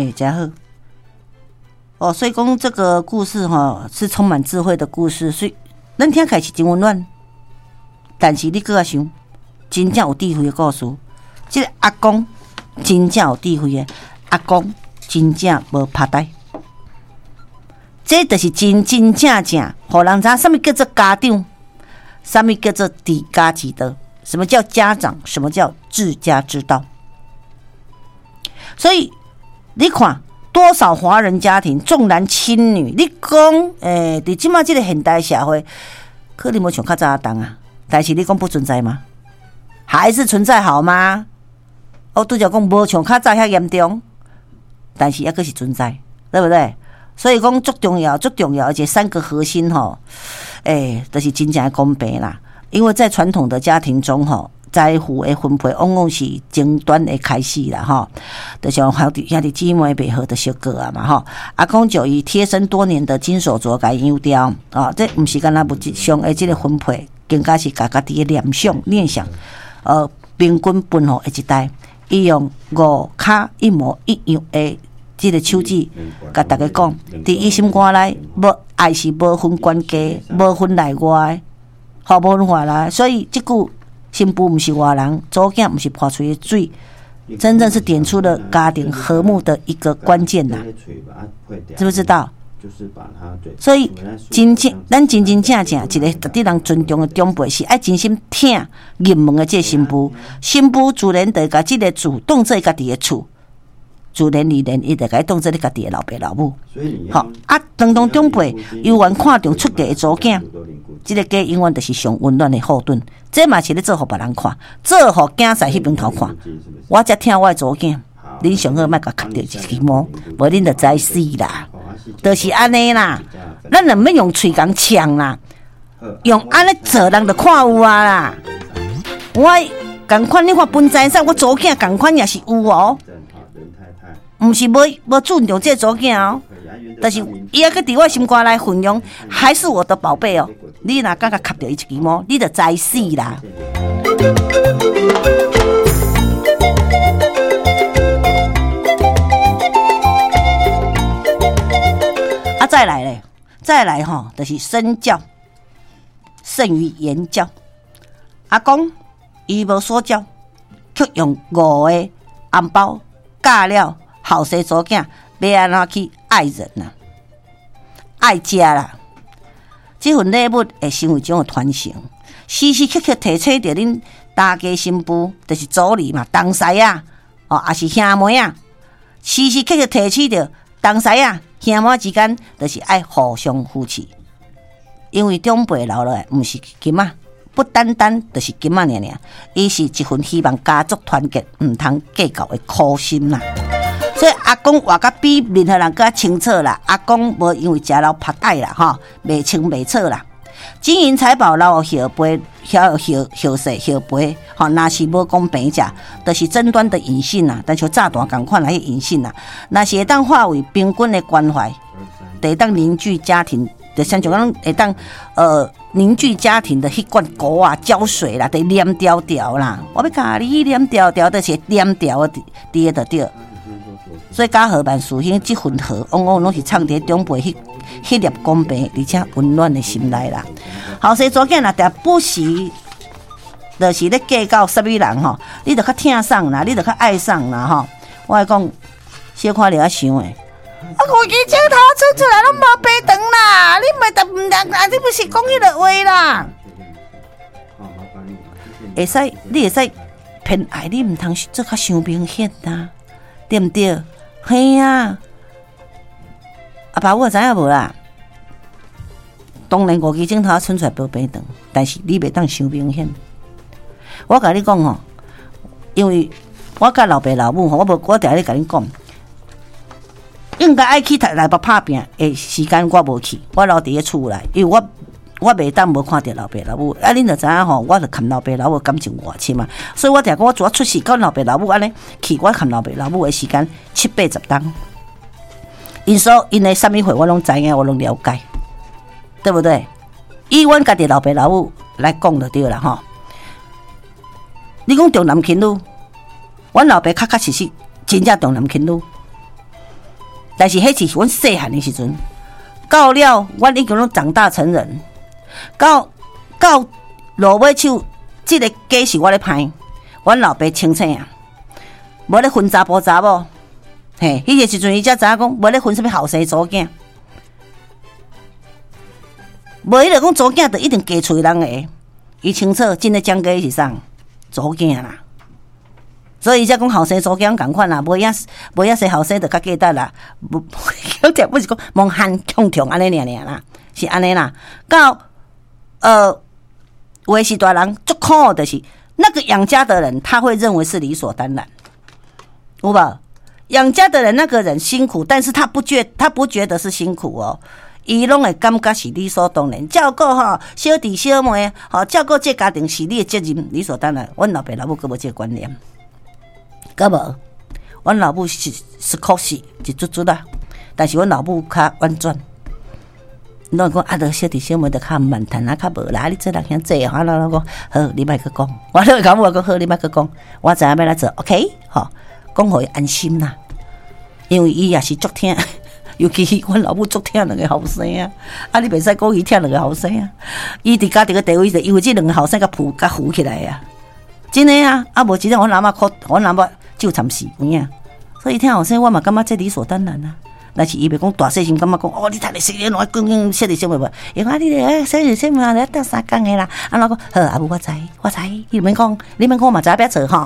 欸，誠好。哦，所以講這個故事吼是充滿智慧的故事，所以咱聽起來是真溫暖。但是你閣來想，真正有智慧的故事，這個阿公真正有智慧的阿公，真正無拍呆。這就是真真正正，予人知影啥物叫做家長，啥物叫做治家之道，什麼叫家長，什麼叫治家之道。所以你看，多少華人家庭重男輕女，你講，佇這馬這個現代社會，可能無像較早當啊，但是你講不存在嗎？還是存在好嗎？我拄才講無像較早遐嚴重，但是猶閣是存在，對不對？所以講足重要，足重要，而且三個核心吼，就是真正的公平啦。因為在傳統的家庭中吼，財富的分配往往是爭端的開始啦吼。就像兄弟姊妹袂和就相告啊嘛吼。阿公就以貼身多年的金手鐲共伊養掉啊，這毋是干焦物質上的這個分配，更加是共家己的念想念想，平均分予下一代，伊用五跤一模一樣的這個手指，共大家講，佇伊心肝內，無愛是無分懸低，無分內外，吼無分外來，所以這句新婦毋是外人，查某囝毋是破喙的水，真正是點出了家庭和睦的一個關鍵吶，知不知道？所以真正咱真真正正一個值得人尊重的長輩，是愛真心疼入門的這個新婦，新婦自然就共這个厝當做家己的厝。自然而然，伊就共伊當做你家己的老爸老母。吼啊，當當長輩猶原看重出嫁的查某囝，這个家永遠就是上溫暖的後盾。這嘛是咧做予別人看，做予囝婿彼邊頭看。我才疼我的查某囝，恁上好莫共磕著一支毛，無恁就知死啦。就是按呢啦，咱就毋免用喙共嗆啦，用按呢做人就看有啊啦。我仝款，你看分財產，我查某囝仝款也是有哦。毋是無尊重這個查某囝哦，但是伊猶閣佇我心肝內分量，還是我的寶貝哦。你若敢共磕著伊一支毛，你就知死啦。啊，再來咧，再來吼，就是身教勝於言教。阿公伊無說教，卻用五個紅包教了後生查某囝欲按怎去愛人啊，愛家啦。這份禮物會成為一種傳承，時時刻刻提醒著恁大家新婦，就是妯娌嘛，同婿啊，哦，抑是兄妹啊，時時刻刻提醒著同婿啊，兄妹之間，就是愛互相扶持。因為長輩留落來，毋是金仔，不單單就是金仔爾爾，伊是一份希望家族團結，毋通計較的苦心啦。所以阿公活甲比任何人閣較清楚啦。阿公無因為食老拍歹啦，吼，袂清袂楚啦。金銀財寶留予後輩，後後後世後輩，吼，若是無公平者，就是爭端的引線啦。但像炸彈仝款來引線啦，若是會當化為平均的關懷，會當凝聚家庭，就像像講會當凝聚家庭的彼罐膏啊、膠水啦，得黏牢牢啦。我欲共你黏牢牢，就是黏牢的，佇個就對。所以家和萬事興，這份和往往攏是藏佇長輩彼粒公平而且溫暖的心內啦。後生查某囝若定不時，就是咧計較啥物人吼，你就較疼送啦，你就較愛送啦吼。我來講，小可掠想的，啊，五支指頭伸出來攏無白長啦，你袂得毋得啊？你毋是講彼个話啦？會使，你會使偏愛，你毋通做較傷明顯啊，對毋對？嘿啊，阿爸母知影無啦？當然五支指頭伸出來無白長，但是你袂當傷明顯。我共你講吼，因為我佮老爸老母吼，我無我定咧共恁講，應該愛去台北拍拚的時間我無去，我留佇咧厝內，因為我袂當無看著老爸老母。啊，恁就知影吼，我就含老爸老母感情偌深嘛，所以我定講我自我出世佮老爸老母按呢去，我含老爸老母的時間七八十冬。𪜶所𪜶的啥物貨我攏知影，我攏了解，對不對？以阮家己老爸老母來講就對啦吼。你講重男輕女，阮老爸確確實實真正重男輕女。但是彼是阮细汉的时阵，到了阮已经攏長大成人，到落尾手，這个家是我咧歹，阮老爸清醒啊，無咧分查埔查某，嘿，彼个時陣伊才知影講，無咧分啥物後生查某囝，無彼个講查某囝就一定嫁厝人的，伊清楚真的講家是啥查某囝啦。所以伊才講後生查某囝仝款啦，無影無影生後生就較簡單啦，無不是講無限強強按呢爾爾啦，是按呢啦。到有的是大人足苦，就是那個養家的人，他會認為是理所當然，有無？養家的人那個人辛苦，但是他不覺得是辛苦哦，伊攏會感覺是理所當然，照顧吼小弟小妹，吼照顧這家庭是你的責任，理所當然。阮老爸老母閣無這個觀念。閣無，阮老母是確實一卒卒啦，但是阮老母較婉轉。攏講啊，著小弟小妹著較慢趁啊，較無啦。你做人兄濟吼，我講好，你莫閣講。我攏會共我講好，你莫閣講。我知影欲按怎做，OK，吼，講予伊安心啦。因為伊也是足疼，尤其阮老母足疼兩個後生啊。啊，你袂使講伊疼兩個後生啊。伊佇家庭的地位就因為這兩個後生共扶共扶起來啊。真的啊，啊無真正阮阿嬤苦，阮阿嬤就慘死有影。所以疼後生，我嘛感覺這理所當然啊。但是伊袂講大細聲，感覺講哦，你讀得細，你攏愛講講小弟小妹無？伊講啊，你咧小弟小妹啊，鬥相共的啦。啊，我講好，阿母我知，我知，你毋免講，你免講，我嘛知影欲做吼。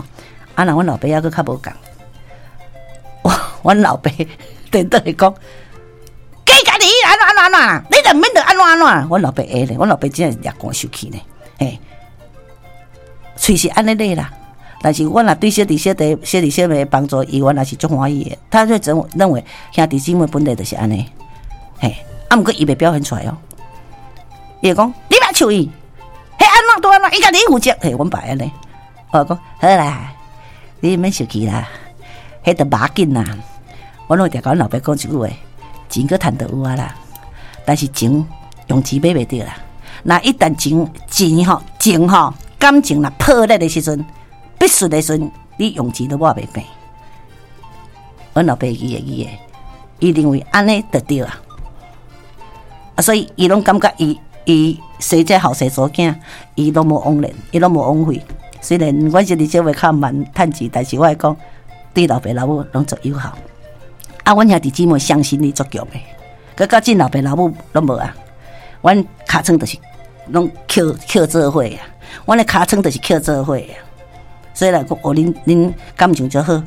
啊，若阮老爸猶閣較無仝，阮老爸顛倒會講，計家己按怎按怎按怎啦，你就毋免著按怎按怎。阮老爸會咧，阮老爸真正掠寒受氣呢，嘿，喙是按呢咧啦。但是阮若對小弟小弟小弟小妹的幫助，伊原來是足歡喜的。他就認為兄弟姊妹本來就是按呢，嘿，啊，毋過伊袂表現出來哦。伊會講你莫笑伊，彼按怎都按怎，伊家己負責。嘿，阮爸按呢，我講好啦，你毋免生氣啦，彼著無要緊啦。我攏會定共阮老爸講一句話：錢閣趁著有啊啦，但是情用錢買袂著啦。若一旦情錢吼情吼感情若破裂的時陣，必須的時陣，你用錢都抹袂平。阮老爸會記會記的，伊認為按呢就對啊，啊，所以伊攏感覺伊伊生這後生查某囝，伊攏無枉然，伊攏無枉費。雖然阮小弟小妹較慢趁錢，但是我會講對老爸老母攏足友好。啊，阮兄弟姊妹向心力足強的，閣較見老爸老母攏無啊。阮尻川就是攏抾抾做伙啊，阮的尻川就是抾做伙啊。所以來講，哦，恁感情就好，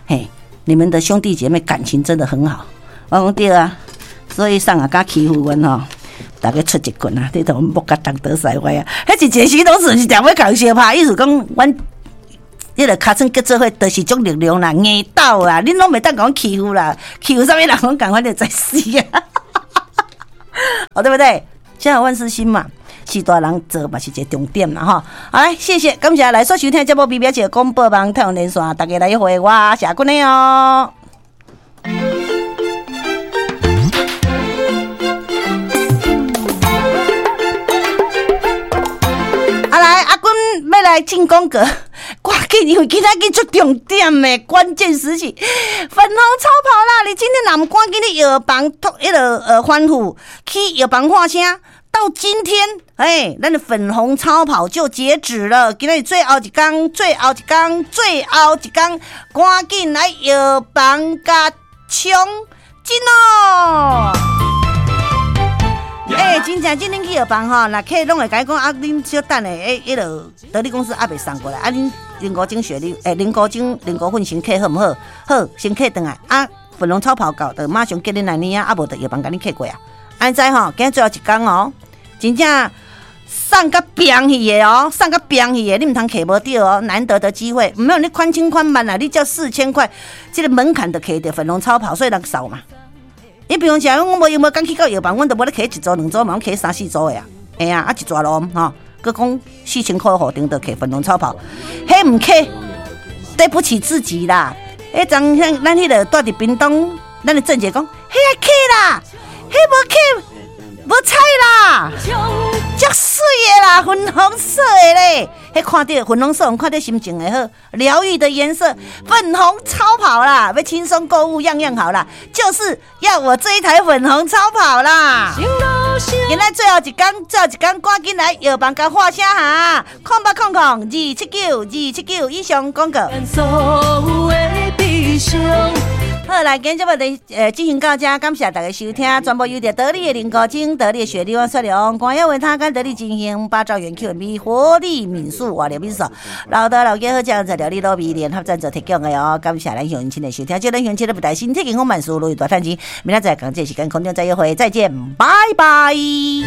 嘿，你們的兄弟姐妹感情真的很好。我講對啊，所以啥人敢欺負阮吼，逐家出一棍啊！你都木甲東倒西歪啊！彼一個時攏是定欲共相拍，意思講阮彼个尻川結做伙，就是種力量啦，硬鬥啦，恁攏袂當共阮欺負啦，欺負啥物人攏仝款就在死啊！哦，對不對？家和萬事興嘛。是大人做嘛是一個重點啦吼。好來，謝謝，感謝來所收聽節目 B B 姐廣播網太陽連線，大家來約會我謝君的哦。啊來，阿君欲來進廣告，趕緊，因為今仔日足重點的關鍵時期，粉紅超跑啦！你今天若毋趕緊去藥房托彼个吩咐去藥房喊聲。到今天，哎，咱的粉紅超跑就截止了。今仔日最後一工，最後一工，最後一工，趕緊來藥房共衝進哦！欸，真正今天去藥房吼，若客攏會共伊講啊，恁小等下，欸，彼落得力公司猶未送過來，啊，恁林國晶雪莉，欸，林國晶林國芬先客好毋好？好，先客轉來啊，粉紅超跑到，就馬上叫恁來領啊，啊無就藥房共恁客過啊。按知吼，今日最後一工哦，真正送甲病去的哦，送甲病去的，你毋通摕無著哦，難得的機會，毋免你寬千寬萬啦，你才4000塊，這個門檻就摕著粉紅超跑，所以人掃嘛。你比如講，我無閒無工去到藥房，阮都無咧摕一組兩組嘛，攏摕三四組的啊，嘿啊，啊一逝路吼，閣講4000塊予頂就摕粉紅超跑，彼毋摕，對不起自己啦。彼陣咱彼個住佇屏東，咱的鄭姐講，彼愛摕啦。彼無摕，無彩啦，足媠的啦，粉紅色的咧，彼看著粉紅色，看著心情會好，療癒的顏色，粉紅超跑啦，欲輕鬆購物樣樣好啦，就是要我這一台粉紅超跑啦。今仔最後一工，最後一工，趕緊來藥房共喊聲哈，0800279279以上廣告。好，來，今日節目就進行到這，感謝大家收聽，全部由著得力的林國晶、得力的雪莉王雪龍、官耀維他跟得力進行八兆元 Q&B 活力民宿活力民宿，老德老家好醬在料理卤味聯合贊助提供的哦，感謝咱鄉親的收聽，祝咱鄉親咧不但身體健康，萬事如意，大趁錢，明仔載仝這時間空中再約會，再見，拜拜。